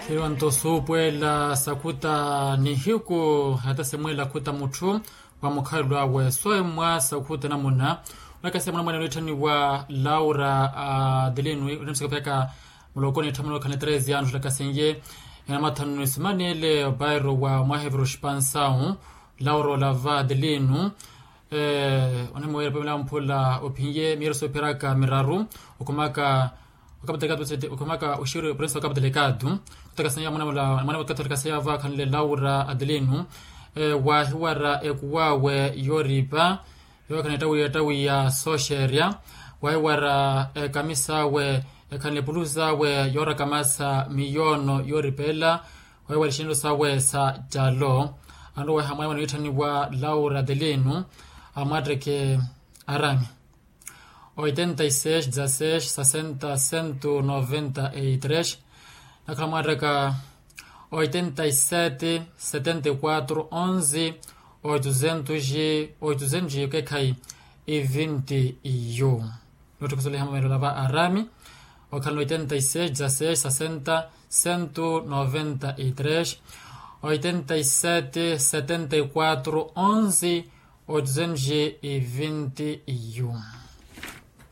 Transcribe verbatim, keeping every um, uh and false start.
Tthiriwanto suupuwela sakhuta nihiku hata simwela akhuta mutthu wa mukhalelo awe soemwa sakhuta namuna. Onakasiya mwanamwana onitthanniwa laura adelino onamsaka peka mulokoni etthamana okhana treze anos lakasiye enamathanu nisimanele opairo wa mwahevero xipansawu. Laura olava adelino onemuwela pamela mphula ophiye miyeru soophiraka miraru okhumaka okapatelekatu okhumaka oxiri oprensa okapatelekatu. Khutakasanya mwana mula mwana mukatholekasanya va akhanle laura adelino wahiwara ekuwawe yoripa yookhanle ettawiya ettawiya sooxeerya wahiwara ekamisawe ekhanle epulusawe yoorakamasa miyoono yooripeela wahiwara exinelo sawe sa calo. Anoweha mwana mwana wiitthanniwa laura adelino amwatteke arami oitenta y seis dezasseis sessenta cento noventa y três nakhala mwattaka oitenta y sete setenta y quatro onze oituzentos oituzentos kekhayi. Ivinti yu nootthukhusuliha mameelo lava arami okhala oitenta y seis dezasseis sessenta cento noventa y três oitenta y sete setenta y quatro onze oituzentos ivinti yu.